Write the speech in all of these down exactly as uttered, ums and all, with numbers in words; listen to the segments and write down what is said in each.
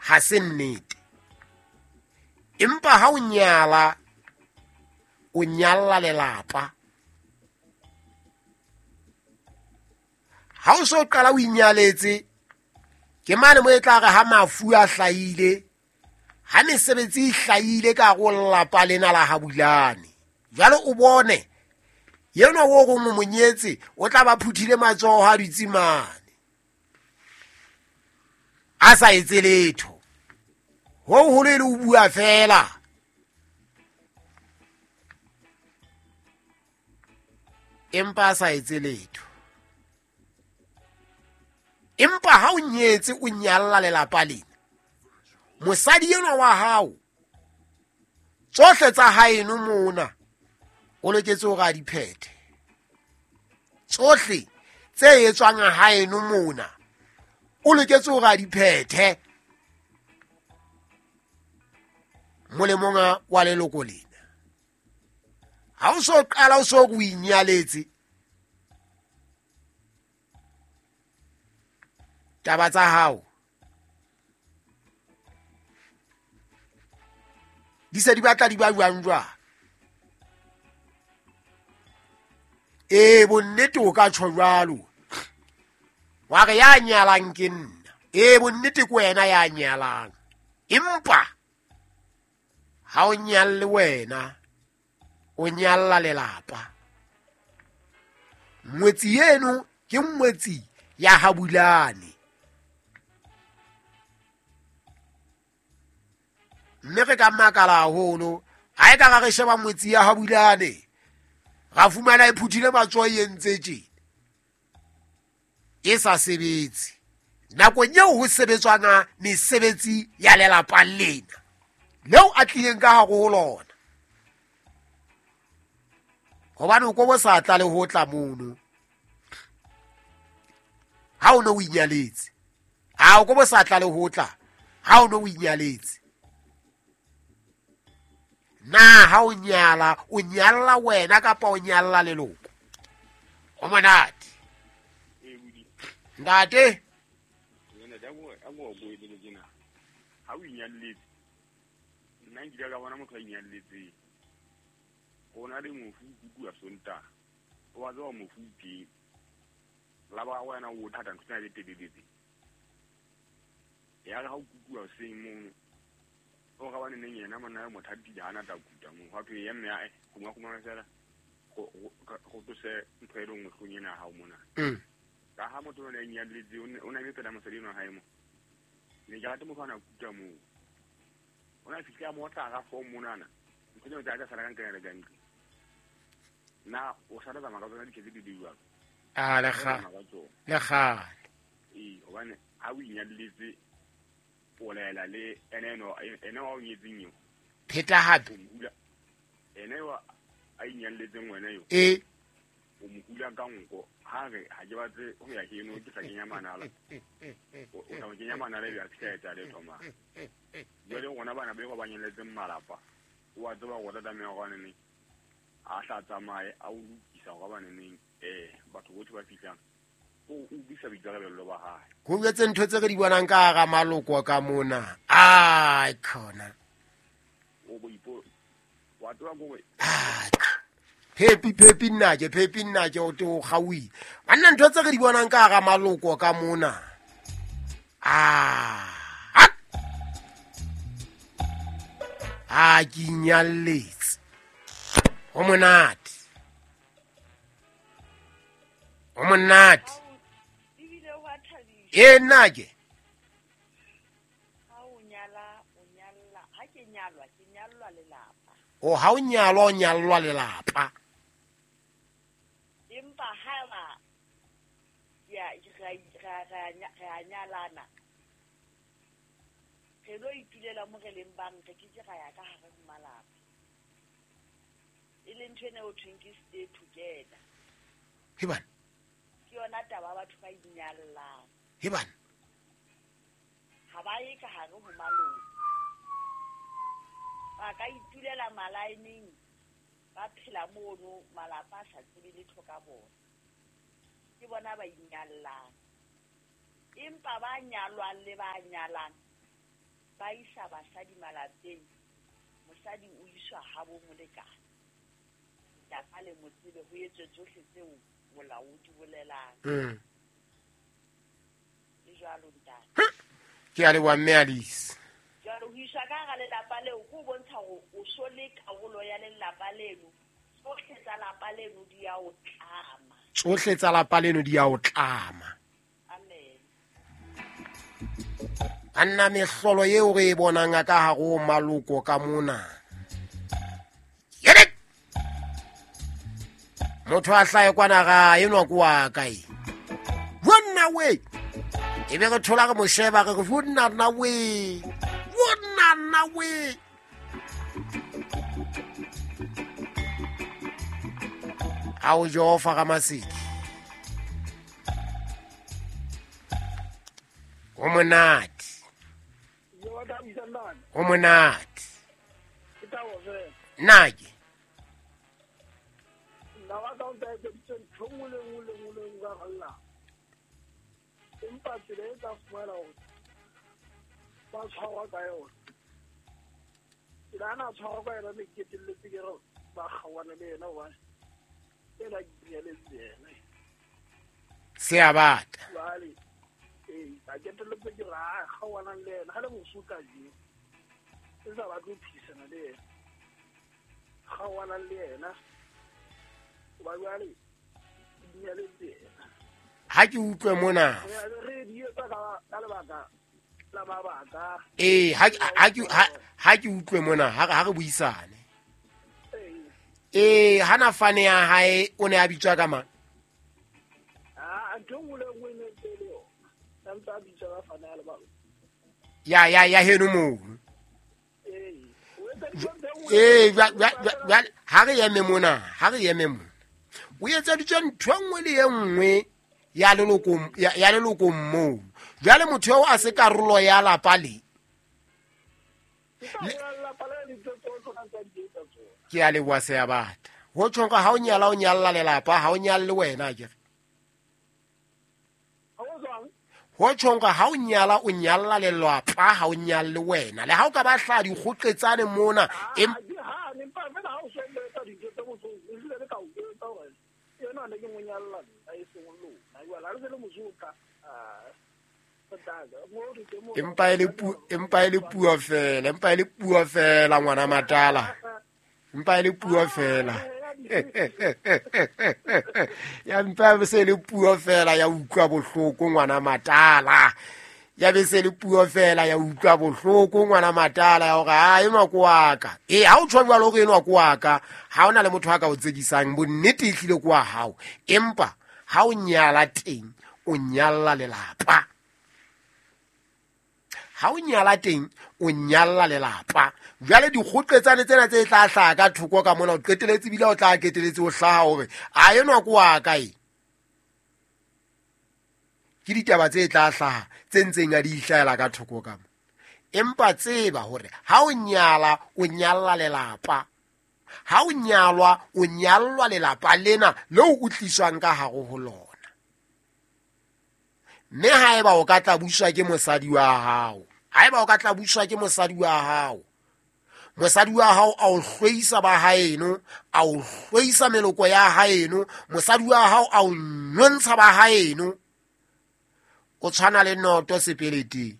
Ha se nnete. Empa ha o nyala, o nyalla lelapa. Ha o so qala o inyaletse, ke mane mo e tla re ha mafu a hlahile, ha mesebetsi e hlahile ka hare ho lelapa lena la Habulane. Jwale o bone yenwa o reng o monyetse, o tla ba phuthile matsoho a dutse mane, a sa etse letho. Ho holo e le o bua fela. Empa a sa etse letho. Empa ha o nyetse o nyalla lelapa lena, mosadi enwa wa hao, tsohle tsa haeno mona o loketse hore a di phethe. Tsohle tse etswang haeno mona o loketse hore a di phethe molemong wa leloko lena. Ha o so qala o so o inyaletse, taba tsa hao di se di batla di ba jwang jwang. Ee, bonnete o ka tjho jwalo, wa re ya nyalang ke nna. Ee, bonnete ke wena ya nyalang, empa ha o nyalle wena, o nyalla lelapa. Ngwetsi eno ke ngwetsi ya Habulane. Mme re ka makala haholo ha e ka re sheba ngwetsi ya Habulane, ra fumana e phuthile matsoho e entse tjena, e sa sebetse. Nakong eo ho sebetswang mesebetsi ya lelapa lena leo a tlileng ka hare ho lona, hobane o ko bo sa tla le ho tla mono ha o no o inyaletse. Ha o ko bo sa tla le ho tla ha o no o inyaletse. Na ha o nyala, o nyalla wena kapa o nyalla leloko? O monate. Ntate, ha o inyalletse, nna nkile ka bona motho a inyalletseng, o na le mofu kuku a Sontaha, o wa tseba mofu teng, la ba wena o thata ntho tsena tse telele. Ya re ha o kukuwa hoseng mono, o ga bane neng yena monna yo mothatile ha na tla kuta moo, ha thwe ya mme ae gongwe gongwe fela go tlose ntho e le nngwe hlong ena ya hao mona. Ka ha motho o ne a inyalletse, o na eme pela mosadi enwa wa hae mo, ne ke rate motho a na kuta moo. O na fihle a mo otla hara four monana, ntho tseno tsa ka sala ka nkena le ka ntlo. Na o sa tsamaya ka tsona diketse di di jwalo? Ah, le kgale. Le kgale. Ee, hobane ha o inyalletse, o laela le ene eno, ene wa o nyetseng eo. Pheta hape. Ene wa a inyalletseng wena eo. Ee. O mo hula ka nko, ha re ha ke batle ho ya heno, ke tla kenya manala. O tla mo kenya manala ebe a fihla etsa letho mane. Jwale rona bana ba ba nyalletseng malapa, o a tseba hore o tla tlameha hore neng a hla tsamaye a o lokisa hore bane neng eh batho bohle ba fihlang, o o bisa boikarabello ba hae. Ho jwetse ntho tse re di bonang ka hara maloko ka mona. Ai khona. O bo ipo wa tseba gore Phepi phepi nna ke phepi nna ke o te o kgauile. Banna ntho tse re di bonang ka hara maloko ka mona. Ah. A ke inyalletse. Ho monate. Ho monate. E nna ke. Ha o nyala, o nyalla, ha ke nyalwa, ke nyallwa lelapa. O ha o nyalwa, o nyallwa lelapa. Empa ha ba ya ra ra ra nyalana, re lo itulela mo re leng bang, re ke ke ra ya ka hare ho malapa. E leng ntho ena o thweng ke stay together. Hebana. Ke yona taba batho ba inyallang. Hebana. Ha ba ye ka hare ho maloko. Ba ka itulela malaeneng, ba phela mono, malapa a sa tsebe letho ka bona. Ke bona ba inyallang. Empa ba nyalwang le ba nyalang, Ba isa basadi malapeng, mosadi o iswa habo molekane. Lapa le mo tsebe ho etswe tsohle tseo molao o di bolelang. Mm. Le jwalo ntate. Ke a leboha mme Alice. Jwale ho iswa ka hara lelapa leo ke ho bontsha hore o so le karolo ya lelapa leno. Tsohle tsa lapa leno di ya o tlama. Tsohle tsa lapa leno di ya o tlama. Amen. Anna mehlolo eo re e bonang ka hare ho maloko ka mona. Yedek! Motho a hlahe kwana ga enwa ke wa kae? Bonna we! E be re thola re mo sheba re re bonna nna we! Bonna nna we! Ao Jehova ga masedi. Ho monate. Ho monate. Nna ke. Nna wa ka o ntse etseditse ntho nngwe le nngwe le nngwe le nngwe ka galla. Empa tsela e tla fumana hore ba tshwarwa ka yona. Tsela ana a tshwarwa ka yona ne ke qetelletse ke re ba kgaohane le yena hobane ena ke nyaletse yena. Se a bata. Jwale ee, ka qetelletse ke re a kgaohanang le yena ha le moso kajeno. E sa batle ho phedisana le yena. Kgaohanang le yena. Hoba jwale ke nyaletse yena. Ha ke utlwe mona. Re di etsa ka ka lebaka la mabaka. Ee, ha ha ke ha ke utlwe mona, ha ha re buisane. Ee, hana fane ya hae o ne a bitswa ka mang? Ah, ntho nngwe le nngwe ne ntse le yona. A ntse a bitswa ka fane ya lebaka. Ya ya ya heno mono. Ee, o etseditswe ntho e nngwe. Ee, jwale ha re eme mona, ha re eme mona. O etseditswe ntho e nngwe le e nngwe ya leloko ya leloko moo. Jwale motho eo a se karolo ya lapa le. Ke a leboha se a bata. Ho tjhong ka ha o nyala o nyalla lelapa, ha o nyalle wena akere. Ho tjhong ka ha o nyala o nyalla lelapa, ha o nyalle wena. Le ha o ka ba hla dikgoqetsane mona, em ha ne mpa fela ha o so etsa dintho tse botso, o hlile le ka o etsa hore yena ne ke mo nyalla nna e seng lona. Jwale ha re se le mosotla, ah empa e le puo, empa e le puo fela, empa e le puo fela ngwana Matala. Empa e le puo fela. Ya mpa se le puo fela ya utlwa bohloko ngwana Matala. Ya be se le puo fela ya utlwa bohloko ngwana Matala ya hore ha enwa ko wa ka. Eh ha o tjho jwalo hore enwa ko wa ka, ha ona le motho a ka o tsekisang, bonnete e hlile ko wa hao. Empa ha o nyala teng, o nyalla lelapa. Ha o nyala teng, o nyalla lelapa. Jwale dikgoqetsane tsena tse tla hlaha ka thoko ka mona, o qeteletse ebile o tla qeteletse o hlaha hore a enwa ko wa ka e. Ke ditaba tse tla hlaha tse ntseng a di ihlahela ka thoko ka mo. Empa tseba hore ha o nyala, o nyalla lelapa. Ha o nyalwa, o nyallwa lelapa lena leo o tliswang ka hare ho lona. Mme haeba o ka tla buswa ke mosadi wa hao, haeba o ka tla buswa ke mosadi wa hao, mosadi wa hao a o hlweisa ba haeno, a o hlweisa meloko ya haeno, mosadi wa hao a o nyontsha ba haeno, o tshwana le noto sepeleteng.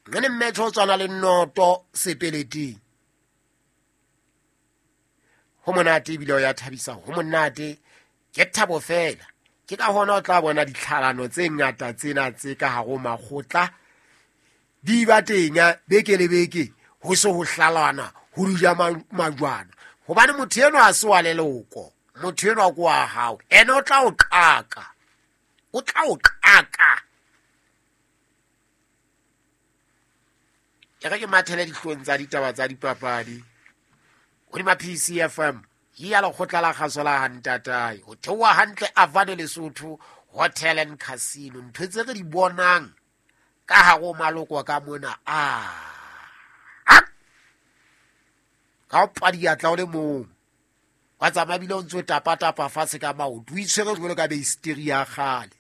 Mme mmetho o tshwana le noto sepeleteng. Ho monate ebile o ya thabisa, ho monate ke thabo fela. Ke ka hona o tla bona ditlhalano tse ngata tsena tse ka hare ho makgotla di ba teng beke le beke, ho se ho hlalana, ho dija majwana. Hobane motho enwa a se wa leloko, motho enwa ke wa hao, ene o tla o qaka, o tla o qaka. E re ke mathele dihlong tsa ditaba tsa dipapadi hodima P C F M. Ya lekgotla la kgaso la Hantatae, ho theoha hantle Avane Lesotho Hotel and Casino. Ntho tse re di bonang ka hare ho maloko ka mona, a ka o padiatla o le mong, wa tsamaya ebile o ntso tapatapa fatshe ka maoto, o itshwere jwalo ka beisteri ya kgale.